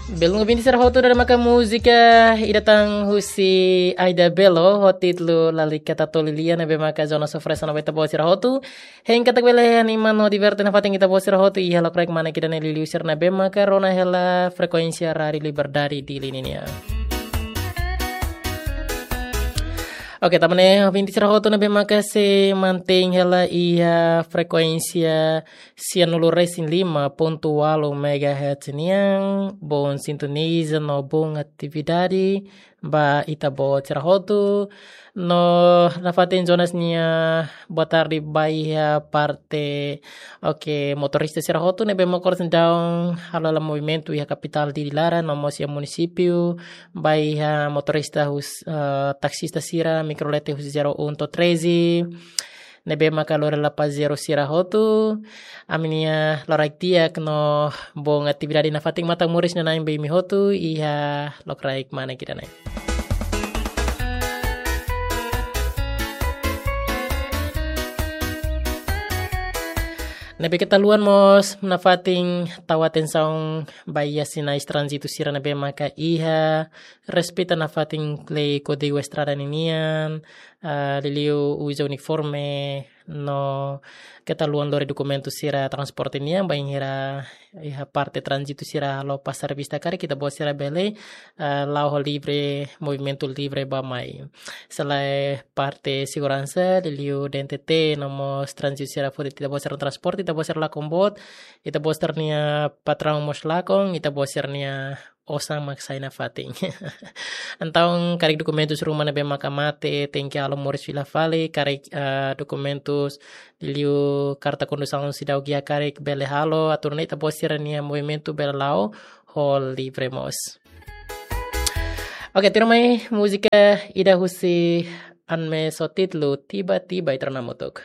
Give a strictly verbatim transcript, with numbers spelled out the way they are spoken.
Belun ouvinte sira hotu, ne'e maka múzika ida tan husi Aida Belo, ho títulu Lalika Tatoli Lia, ne'ebé maka Jonas oferese ona ba ita-boot sira hotu. Hein katak bele anima no diverte nafatin ita-boot sira hotu iha lokraik manek ida-ne'e, liuliu sira ne'ebé maka rona hela frekuénsia Rádiu Liberdade Dili nian. Oke, tanba ne'e ouvinte sira hotu ne'ebé maka sei mantein hela iha frekuénsia sianulu resin lima pontu ualu megahertz nian, bom sintoniza no bom atividade ba ita-boot sira hotu. No nafatin Jonas nia boa tarde ba iha parte, oke, motorista sira hotu ne'ebé maka oras ne'e daudaun halo hela movimentu iha kapitál Dili laran no mós iha munisípiu, ba iha motorista hus-, eh, taksista sira, mikrolete husi zero um to'o treze, ne'ebé maka lori hela pazejeiru sira hotu. Ami-nia loraik di'ak no bom atividade nafatin, matan moris iha-ne'e ba imi hotu iha lokraik manek ida-ne'e. Ne'ebé keta haluha mós nafatin tau atensaun ba iha sinais tránzitu sira ne'ebé maka iha, respeita nafatin lei Kódigu Estrada ninian, ah, liuliu uza uniforme, no keta haluha lori dokumentu sira transporte nian, bainhira iha parte tránzitu sira halo pasar vista karik, ita-boot sira bele, ah, la'o ho livre, movimentu livre bá-mai. Se lae parte seguransa, liuliu D N T T, no mós tránzitu sira foti ita-boot sira transporte, ita-boot sira lakon boot, ita-boot sira-nia patraun mós lakon, ita-boot sira-nia osan mak sai nafatin. Entaun, karik dokumentus ruma ne'ebé maka mate, tenke halo moris fila fali, karik, eh, dokumentus liuliu karta kondusaun seidauk iha karik bele halo, atu nune'e ita-boot sira-nia movimentu bele la'o ho livre mós. Oke, tuirmai múzika ida husi Anmes ho títulu Tiba-Tiba, ita rona hamutuk.